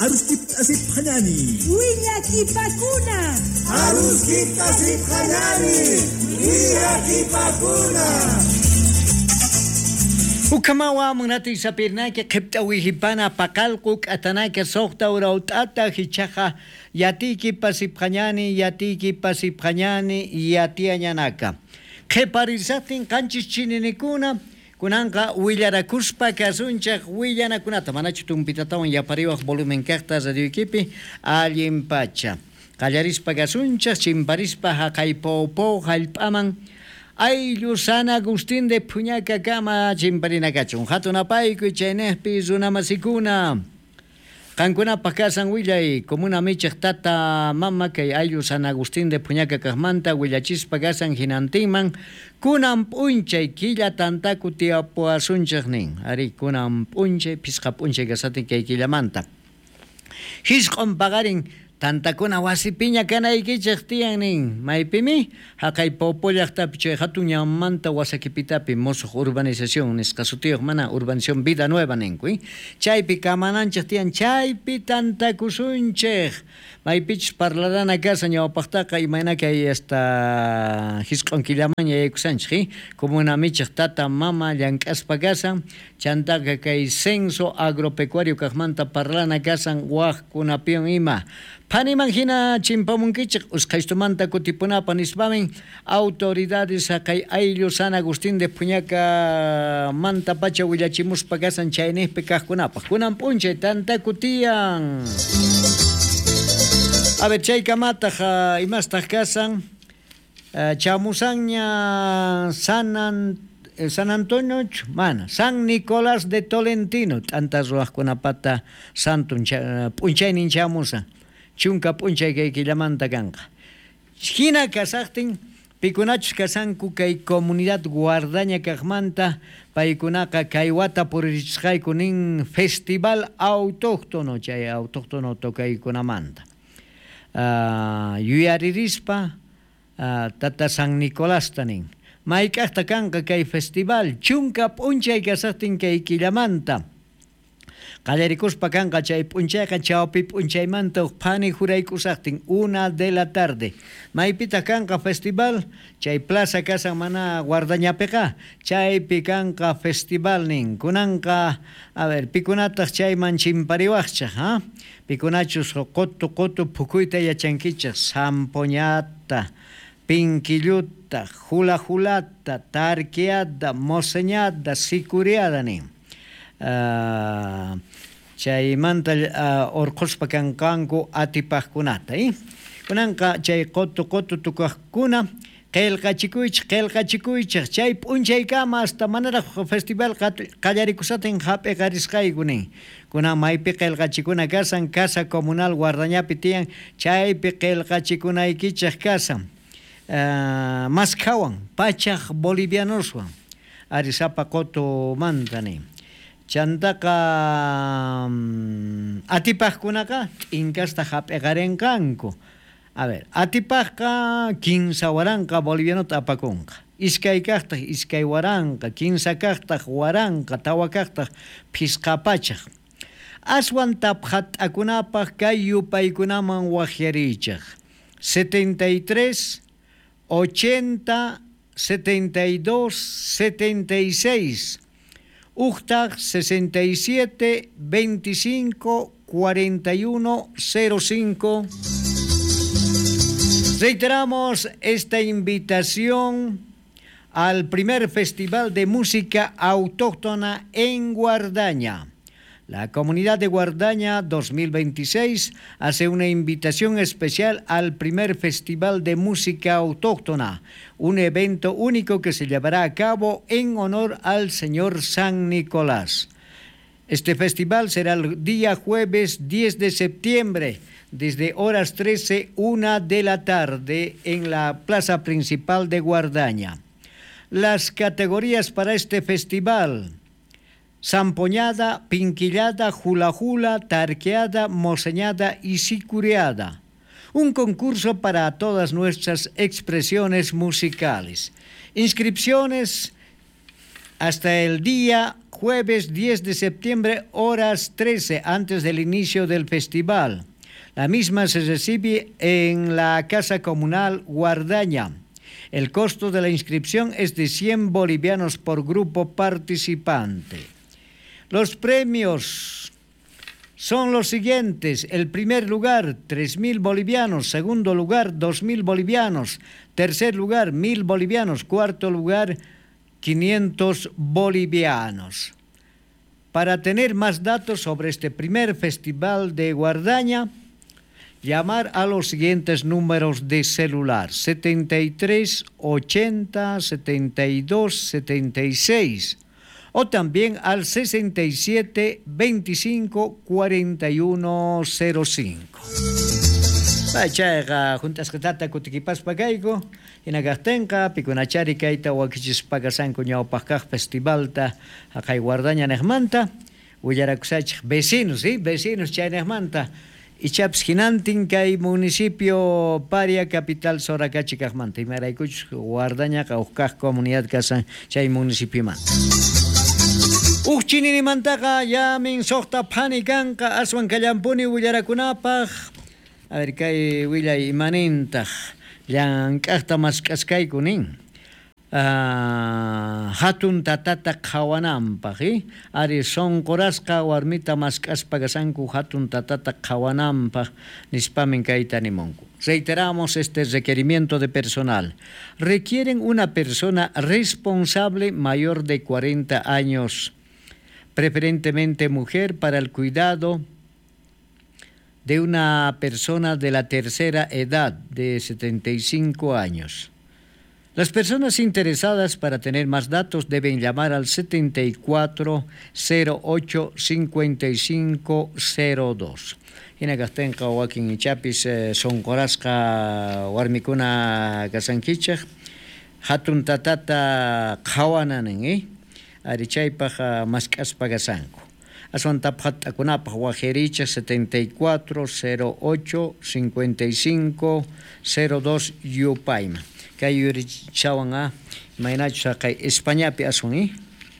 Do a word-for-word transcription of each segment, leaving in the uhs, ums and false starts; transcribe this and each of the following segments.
Aruskita sipqañani. Willakipakuna. Aruskita sipqañani. Willakipakuna. Ukamawa munati sapirnaki qhipta wihipana paqalqu k'atanaka suqta uraut'ata hichaqa yatiyki pasipqañani yatiyki pasipqañani yatiañanaka. Qhiparisaqtin qanchis chininikuna kunanqa willarakuspa kasunchaq willanakunata manachu tumpitatawan yapariwaq volumen kaqta radioykipi allin pacha. Qallarispa kasunchaq chimparispa haqay pawpaw hallp'aman ayllu San Agustín de Puñaca kama chimparinakachun hatunapaykuy chaynejpi runamasikuna. Qankunapaq kasan willay comuna michaq tata mama kay ayllu San Agustín de Puñaca kaqmanta willachispa kasan hinantinman kunan p'unchay killa tantaku tiyapuwasunchaq nin ari kunan p'unchay phisqa p'unchay kasatin kay killamanta hisq'un paqarin tantakuna wasipiña kanaykichaq tiyan nin maypimi haqay Popo llaqtapi chay hatun ñanmanta wasakipitapi musuq urbanización nisqa sutiyuq mana urbanización Vida Nueva ninku chaypi kamananchaq tiyan chaypi tantakusunchik maypichus parlarana kasa ñawpaqtaqa imayna kay hasta hisq'un killamanña yaykusanchik comuna michaq tata mama llank'aspa kasan chantaqa kay censo agropecuario kaqmanta parlana kasan waqkunapiwan ima Phaniman hina chimpamunkichik usqhaystumanta kutipunapa nispamin autoridades haqay ayllu San Agustín de Puñaca manta pacha willachimuspa kasan chaynejpi kaqkunapaq kunan p'unchay tantaku tiyan. A ver, chaykamataq imastaq kasan chamusanña San San Antonio, mana, San Nicolás de Tolentino, t'anta ruwaqkunapata santun p'unchaynin chamusan. Chunka p'unchay kay killamanta kanqa. Hina kasaqtin pikunachus kasanku kay comunidad guardaña kaqmanta paykunaqa kay wata puririchisqayku nin festival autóctono chay autóctono tocaykunamanta. Uh, yuyaririspa uh, tata San Nicolasta nin. Mayk'aqta kanqa kay festival chunka p'unchay kasaqtin kay killamanta. Qallarikuspa kanqa chay p'unchayqa chawpi p'unchaymanta huk phani juraykusaqtin una de la tarde. Maypitaq kanqa festival chay plaza kasan mana guardañapiqa chaypi kanqa festival nin kunanqa a ver pikunataq chayman chimpariwaqchaq ha pikunachus qutu qutu phukuyta yachankichaq zampoñata pinkilluta hula hulata tarqueada moseñada sicuriada nin. Uh, chaymanta uh, urqhuspa kanqanku atipaqkunata eh? Kunanqa chay qutu qutu tukaqkuna qillqachikuychik qillqachikuychik chay p'unchaykama hasta manaraq festival qallarikushatin hap'iqarisqayku nin kunan maypi qillqachikuna kasan casa comunal guardañapi tiyan chaypi qillqachikunaykichik kasan uh, maskhawan pachaq bolivianoswan arisapa qutumanta nin. Chantaqa um, atipaqkunaqa t'inkasta hap'iqarinqanku. A ver, atipaqqa kinsa waranqa bolivianota apakunqa. Iskay kaqtaq iskay waranqa, kinsa kaqtaq waranqa, tawa kaqtaq phisqa pachaq. Aswan taphat'akunapaq kay yupaykunaman waqyariychaq. setenta y tres, ochenta, setenta y dos, setenta y seis. Uhtaq sesenta y siete, veinticinco, cuarenta y uno, cero cinco. Reiteramos esta invitación al primer Festival de Música Autóctona en Guardaña. La comunidad de Guardaña dos mil veintiséis hace una invitación especial al primer Festival de Música Autóctona, un evento único que se llevará a cabo en honor al Señor San Nicolás. Este festival será el día jueves diez de septiembre, desde horas trece, una de la tarde, en la plaza principal de Guardaña. Las categorías para este festival: zampoñada, pinquillada, jula jula, tarqueada, moseñada y sicureada. Un concurso para todas nuestras expresiones musicales. Inscripciones Hasta el día jueves diez de septiembre, horas trece, antes del inicio del festival. La misma se recibe en la Casa Comunal Guardaña. El costo de la inscripción es de cien bolivianos por grupo participante. Los premios son los siguientes. El primer lugar, tres mil bolivianos. Segundo lugar, dos mil bolivianos. Tercer lugar, mil bolivianos. Cuarto lugar, quinientos bolivianos. Para tener más datos sobre este primer festival de Guardaña, llamar a los siguientes números de celular: setenta y tres, ochenta, setenta y dos, setenta y seis, o también al sesenta y siete, veinticinco, cuarenta y uno, cero cinco. Chayqa juntasqatata kutikipaspa kayku, hinakaqtinqa pikunachari kayta wakichispa kasanku ñawpaq kaq festivalta haqay Guardaña niqmanta willarakusachik vecinos, ¿sí? Vecinos chaynejmanta. Ichapis hinantin kay municipio Paria capital Soracachi kaqmanta, imaraykuchus Guardañaqa huk kaq comunidad kasan chay municipiomanta. Uj chininimantaqa llamin suqta phani kanqa aswan kallampuni willarakunapaq. A ver, kay willay imanintaq llank'aqta mask'askayku nin. Uh, hatun tatata qhawananpaq, eh? Ari sonqorasqa warmita mask'aspa kasanku hatun tatata qhawananpaq nispamin kayta nimunku. Reiteramos este requerimiento de personal. Requieren una persona responsable mayor de cuarenta años, preferentemente mujer, para el cuidado de una persona de la tercera edad de setenta y cinco años. Las personas interesadas para tener más datos deben llamar al setenta y cuatro, cero ocho, cincuenta y cinco, cero dos. Hinakaqtinqa wakin ichapis sonqorasqa warmikuna kasankichaq hatun tatata qhawananin, eh? Ari chaypaq mask'aspa kasanku. Aswan taphat'akunapaq wajericha setenta y cuatro, cero ocho, cincuenta y cinco, cero dos yupayman. Kay yurichawan a imaynachus haqay Españapi aswan, eh?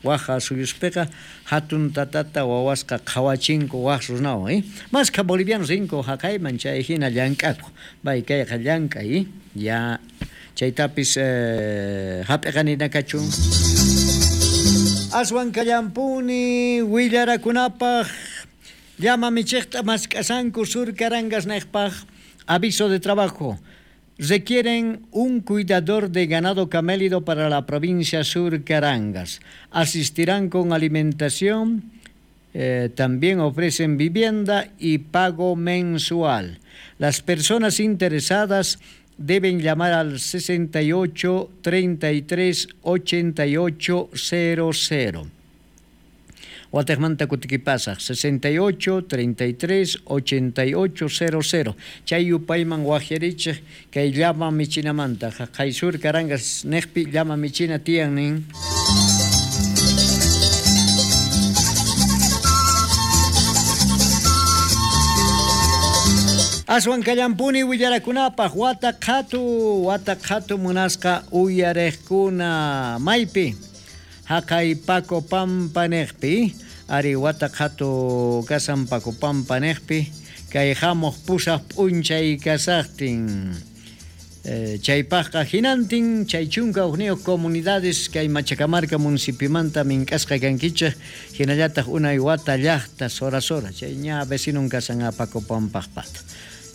Waja suyuspiqa hatun tatata wawasqa qhawachinku waj runawan, eh? Maskha bolivianos rinku haqayman chay hina llank'aku. Bay kayqa llank'ay, eh? Ya chaytapis eh, hap'iqanina kachun. Aswan kallampuni willarakunapaq llama michiqta mask'asanku sur Carangas niqpaq. Aviso de trabajo. Requieren un cuidador de ganado camélido para la provincia Sur Carangas. Asistirán con alimentación, eh, también ofrecen vivienda y pago mensual. Las personas interesadas deben llamar al sesenta y ocho, treinta y tres, ochenta y ocho, cero cero. Watejmanta kutikipasaq sesenta y ocho, treinta y tres, ochenta y ocho, cero cero. Chay yupayman wajerichik kay llama michinamanta. Haqay Sur Carangas niqpi llama michina tiyan nin. Aswan kallampuni willarakunapaq wata qhatu, wata qhatu munasqa uyariqkuna maypi. Haqay Paco Pampa niqpi, ari wata qhatu kasan Paco Pampa niqpi, kay hamuq pusaq p'unchay kasaqtin. Eh, chaypaqqa hinantin chay chunka hukniyuq comunidades kay Machacamarca municipiomanta mink'asqa kankichik, hinallataq unay wata llaqta Sora Sora, chay ña vecinon kasan a Paco Pampaqpata.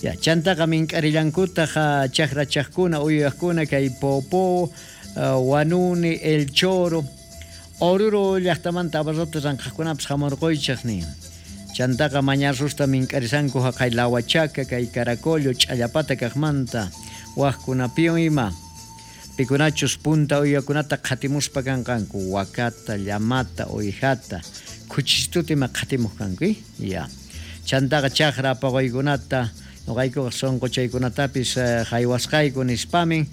Ya, chantaqa mink'arillankutaq chaqrachaqkuna uyuyaqkuna kay Popó, uh, Wanuni, El Choro, Oruro llaqtamanta abarrote ranqaqkunapas hamurquychik nin. Chantaqa mañarrusta mink'arisanku haqay Lahuachaca, kay Caracollo, Ch'allapata kaqmanta, waqkunapiwan ima. Pikunachus punta uywakunata qhatimuspa kanqanku, wakata, llamata, uyjata, khuchistuta ima qhatimuq kanku, eh? Ya. Chantaqa chaqra apaquykunata, noqaykuqa sunquchaykunatapis haywasqayku nispamin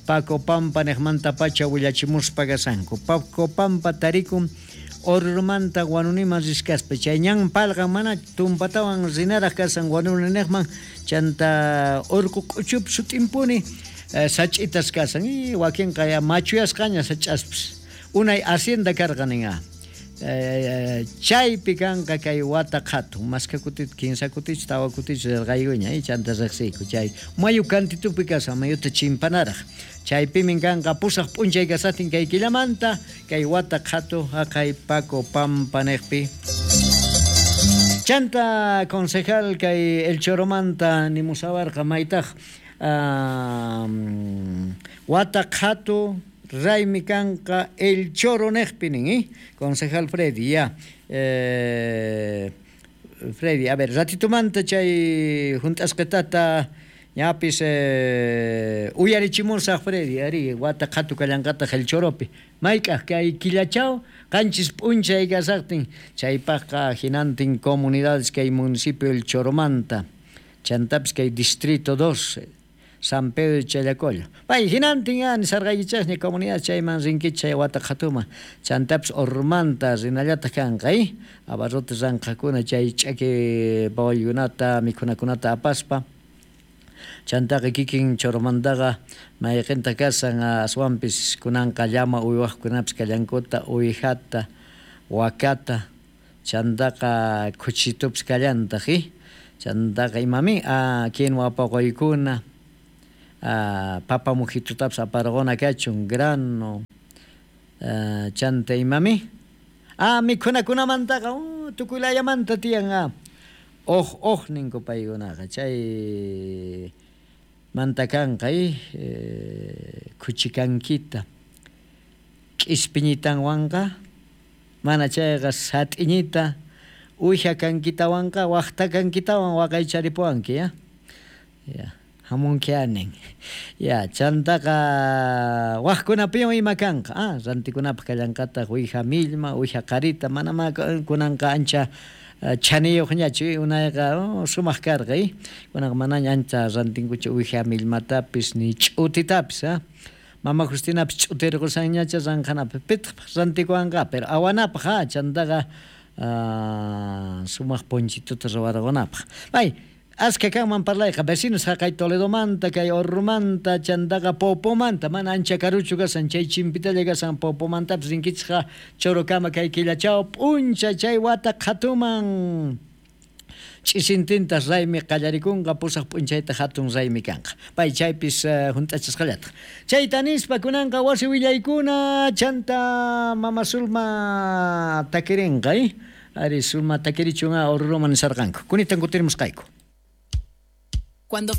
Paco Pampa niqmanta pacha willachimuspa kasanku. Paco Pampa tarikun Orurumanta Wanuniman riskaspa chay ñan palqan mana tumpatawan rinaraq kasan Wanuni niqman, chanta urqu k'uchup sut'impuni eh, sach'itas kasan y wakinqa ya machuyasqaña sach'aspis. Unay hacienda karqa nin a. Chaypi kanqa kay wata qhatu maska kutita kinsa kutichu tawa kutichu rirqaykuña chanta riqsiyku chay mayu kantitupi kashan mayuta chimpanaraq chaypimin kanqa pusaq p'unchay kasatin kay killamanta kay wata qhatu haqay Paco Pampa niqpi. Chanta concejal kay El Choromanta nimusawarqa maytaq wata qhatu raymi kanqa El Choro niqpi nin, ¿eh? Concejal Freddy, ya. Eh, Freddy, a ver, ratitumanta chay junt'asqitata ñapis eh, uyarichimusaq Freddy, ari, wata qhatu kallanqataq El Choropi. Mayk'aq kay killachaw qanchis p'unchay kasaqtin, chaypaqqa hinantin comunidades kay municipio El Choromanta, chantapis kay distrito dos, San Pedro de Challacollo. Pay hinantin ya nisarqaykichasña comunidad chayman rinkichik chay wata qhatuma. Chantapis Ormanta rinallataq kanqa, ¿eh? Abarrotes ranqakuna chay ch'aki pawaykunata mikhunakunata apaspa. Chantaqa kikin Choromantaqa mayqinta kasan aswanpis kunanqa llama uywaqkunapis kallankuta uwijata, wakata, chantaqa khuchitupis kallantaq, ¿eh? Chantaqa imami ah, quinua paqaykuna, ah, papa mujitutapis aparquna kachun grano, ah, chanta imami ah, mikhunakunamantaqa uh, tukuylayamanta tiyan ah. Oj oj ninku paykunaqa chay manta kanqa eh, khuchikankita k'ispiñitanwanqa mana chayqa sat'iñita uwija kankitawanqa waqta kankitawan waqaycharipuwanki ya ya hamunki anin ya chantaqa waqkunapiwan ima kanqa ah rantikunapaq kallanqataq uwija millma uwija qarita mana ma kunanqa ancha chaniyuqñachu unayqa oh, sumaq karqa eh kunanqa manaña ancha rantinkuchu uwija millmatapis ni ch'utitapis ah Mama Justinapis ch'utirqusanñacha ranqanapaq pitaqpaq rantikuwanqa pero awanapaq ah chantaqa ah, sumaq ponchituta ruwarqunapaq pay aska kanman parlayqa vecinos haqay Toledomanta kay Orrumanta chantaqa Popomanta mana ancha karuchu kasan chay chimpitalla kasan Popomantapis rinkichikqa Chorokama kay killachaw p'uncha chay wata qhatuman ch'isintintas raymi qallarikunqa pusaq p'unchayta hatun raymi kanqa pay chaypis uh, hunt'achisqallataq chayta nispa kunanqa wasi willaykuna chanta mama Sulma takirinqa eh? Ari Sulma takirichun Orruman nisarqanku kunitan kutirimusqayku. Cuando